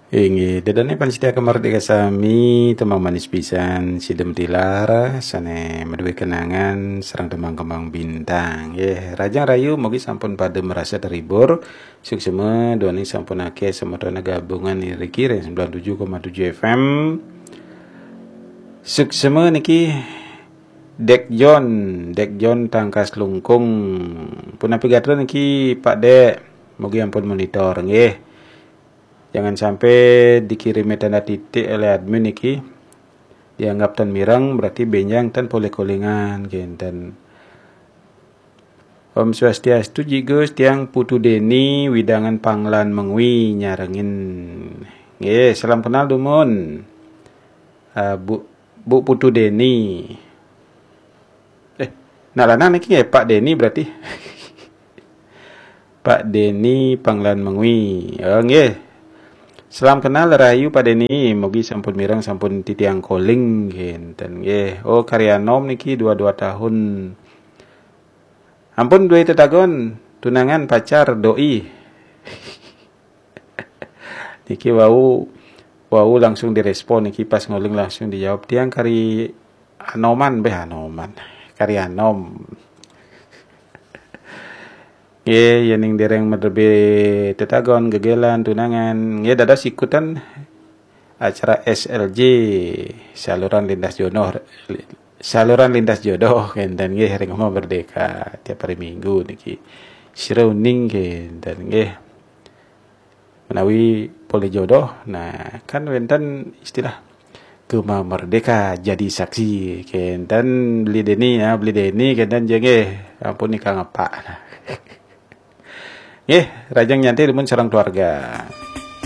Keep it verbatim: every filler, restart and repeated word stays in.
Inggih, ida dané pamiarsa Merdeka sami, tembang manis pisan, sidem tilar, sané madué kenangan, sareng tembang kembang bintang. Nggih, rahajeng rahayu, mugi sampun pada merasa terhibur. Suksma, duaning sampun akéh semeton gabungan niki ring sembilan tujuh koma tujuh F M. Suksma niki Dek John, Dek John Tangkas Lungkung. Punapi gatra niki Pak Dek, mugi ampun monitor nggih. Jangan sampai dikirim tanda titik oleh admin niki. Dianggap tan mireng, berarti bénjang tan polih kolingan, kénten. Om Swastiastu, Ji Gus, tiang Putu Deni, wewidangan Panglan Mengwi nyarengin. Nggih, salam kenal dumun. Ah, Bu, Bu Putu Deni. Eh, nak lanang niki nggih, Pak Deni berarti. Pak Deni Panglan Mengwi. Oh, nggih. Salam kenal rahayu Pak Deni, mugi sampun mireng, sampun titiang calling kénten nggih. Oh, karya nom niki dua dua tahun. Ampun dué tetagon, tunangan, pacar, doi. Niki wau, wau langsung direspon niki, pas nguling langsung dijawab. Tiang kari anoman, béh anoman. Kari anom. Nggih, yéning dereng maderbé tetagon, gegélan, tunangan, nggih dados ikutan acara S L J, saluran lintas jodoh, saluran lintas jodoh, kénten nggih, ring Gema Merdeka tiap hari Minggu niki. Sira uning kénten nggih. Menawi polih jodoh, nah, kan wénten istilah Gema Merdeka jadi saksi, kénten Beli Deni, ya, Beli Deni, kénten ja nggih, ampun nika ngepak. Nah. Nggih, rahajeng nyantai dumun sareng keluarga.